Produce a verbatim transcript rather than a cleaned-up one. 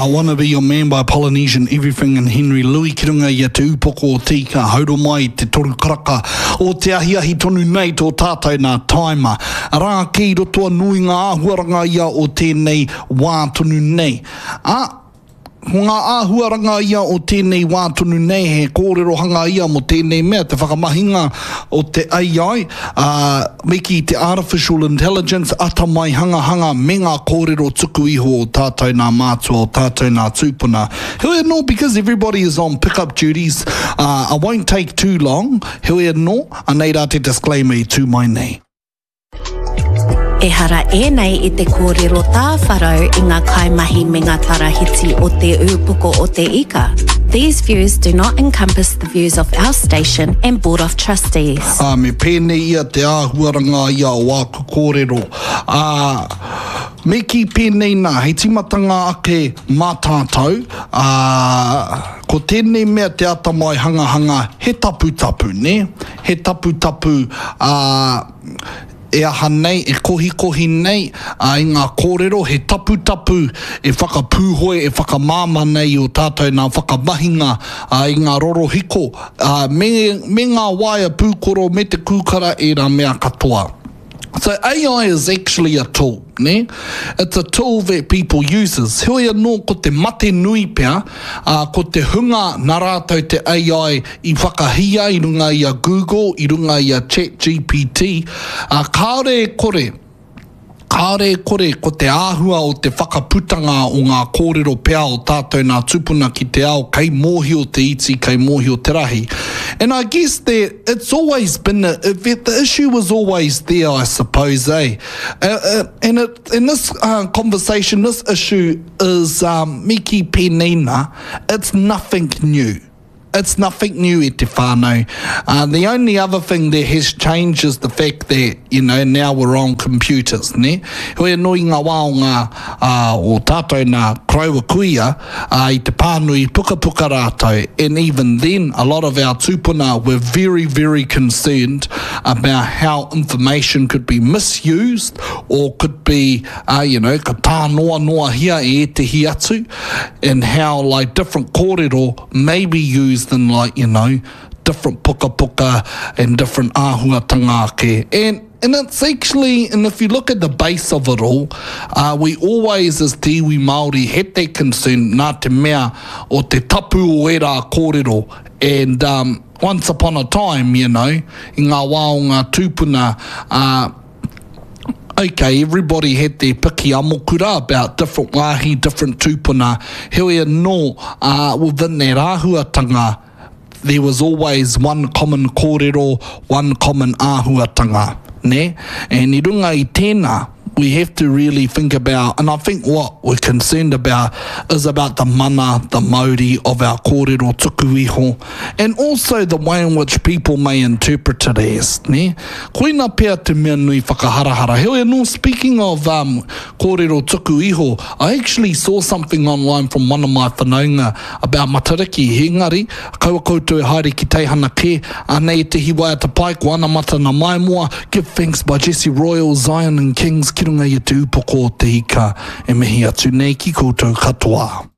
I Wanna Be Your Man by Polynesian Everything and Henry Louis ki runga i a Te Upoko o Te Ika, hauro mai te toru karaka o te ahiahi tonu nei tō tātou nā taima. Arā ake i roto anō i ngā āhuaranga ia o tēnei wā tonu nei. Ā, ko ngā āhuaranga ia o tēnei wā tonu nei, he kōrerohanga ia mō tēnei mea, te whakamahinga o te AI, ā, me kī te artificial intelligence, atamai hangahanga me ngā kōrero tuku iho o tātou nā mātua, o tātou nā tūpuna. Heoi anō, because everybody is on pick-up duties, uh, I won't take too long, heoi anō, anei rā te disclaimer i tū mai nei. Ehara ēnei i te kōrero tāwharau i ngā kaimahi me ngā tarahiti o Te Ūpoko o Te Ika. These views do not encompass the views of our station and Board of Trustees. Ā, me pēnei ia te āhuaranga ia o āku kōrero. Ā, me kī pēnei nā, hei tīmatanga ake mā tātou, ā, ko tēnei mea te atamai hangahanga, he taputapu, nē? He taputapu, ā, e aha nei, e kohikohi nei ā, i ngā kōrero, he taputapu e whakapūhoi, e whakamāmā nei i ō tātou nā whakamahinga ā, i ngā rorohiko, ā, me, me ngā waea pūkoro, me te kūkara, ērā mea katoa. So AI is actually a tool, nē? It's a tool that people uses. Heoi anō ko te mate nui pea, ā, ko te hunga nā rātou te AI i whakahia i runga i a Google, i runga i a ChatGPT, ā, kāore e kore, kāore e kore ko te āhua o te whakaputanga o ngā kōrero pea o tātou nā tūpuna ki te ao kei mōhio te iti, kei mōhio te rahi. And I guess that it's always been, a, the issue was always there, I suppose, eh? Uh, uh, and, it, and this uh, conversation, this issue is, um, me kī pēnei nā, it's nothing new. It's nothing new e te whānau. Uh, the only other thing that has changed is the fact that, you know, now we're on computers, ne? Heoi anō i ngā wā o ngā, uh, o tātou nā koroua kuia, uh, i te pānui pukapuka rātou, and even then, a lot of our tūpuna were very, very concerned about how information could be misused or could be, uh, you know, ka tānoanoahia e ētehi atu, and how, like, different kōrero may be used in, like, you know, different pukapuka and different āhuatanga ake. And, and it's actually, and if you look at the base of it all, uh, we always as te iwi Māori had that concern nā te mea o te tapu o ērā kōrero. And um, once upon a time, you know, i ngā wā o ngā tūpuna, uh, okay, everybody had their piki amokura about different wāhi, different tūpuna. Heoi anō, uh, within that āhuatanga, there was always one common kōrero, one common āhuatanga, ne? And i runga i tēnā, we have to really think about, and I think what we're concerned about is about the mana, the mauri of our kōrero tuku iho, and also the way in which people may interpret it as, ne? Koina pea te mea nui whakaharahara. Heoi anō, speaking of um, kōrero tuku iho, I actually saw something online from one of my whanaunga about Matariki. Engari, kaua koutou e haere ki teihana kē, anei ētehi waiata pai, ko Anamata na Maimoa, Give Thanks by Jesse Royal, Zion and Kings, ki runga i a Te Upoko o Te Ika, e mihi atu nei ki koutou katoa.